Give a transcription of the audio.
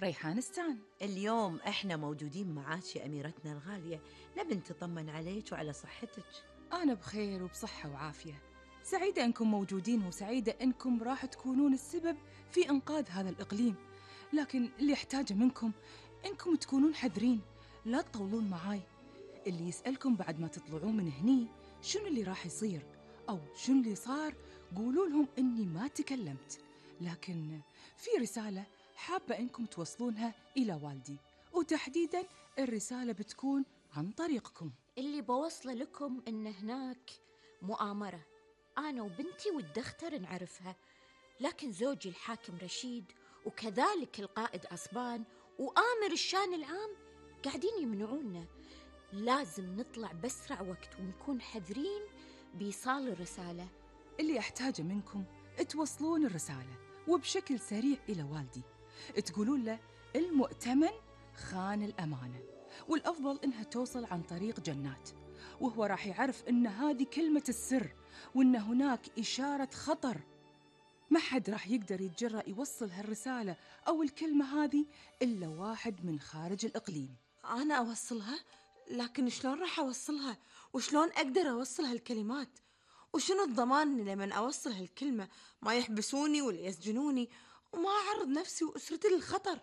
ريحانستان. اليوم إحنا موجودين معاك يا أميرتنا الغالية، نبي نطمن عليك وعلى صحتك. أنا بخير وبصحة وعافية، سعيدة أنكم موجودين وسعيدة أنكم راح تكونون السبب في إنقاذ هذا الإقليم. لكن اللي أحتاجه منكم أنكم تكونون حذرين، لا تطولون معاي. اللي يسألكم بعد ما تطلعون من هني شنو اللي راح يصير أو شنو اللي صار، قولوا لهم إني ما تكلمت، لكن في رسالة حابة أنكم توصلونها إلى والدي، وتحديداً الرسالة بتكون عن طريقكم. اللي بوصله لكم إن هناك مؤامرة، أنا وبنتي والدختر نعرفها، لكن زوجي الحاكم رشيد وكذلك القائد عصبان وآمر الشان العام قاعدين يمنعونا. لازم نطلع بأسرع وقت ونكون حذرين بإيصال الرسالة. اللي أحتاجه منكم توصلون الرسالة وبشكل سريع إلى والدي، تقولون له المؤتمن خان الأمانة، والأفضل إنها توصل عن طريق جنات، وهو راح يعرف إن هذه كلمة السر، وإن هناك إشارة خطر. ما حد راح يقدر يتجرأ يوصل هالرسالة أو الكلمة هذه إلا واحد من خارج الإقليم. أنا أوصلها، لكن شلون راح أوصلها؟ وشلون أقدر أوصل هالكلمات؟ وشنو الضمان إن لمن أوصل هالكلمة ما يحبسوني ولا يسجنوني وما أعرض نفسي وأسرتي للخطر؟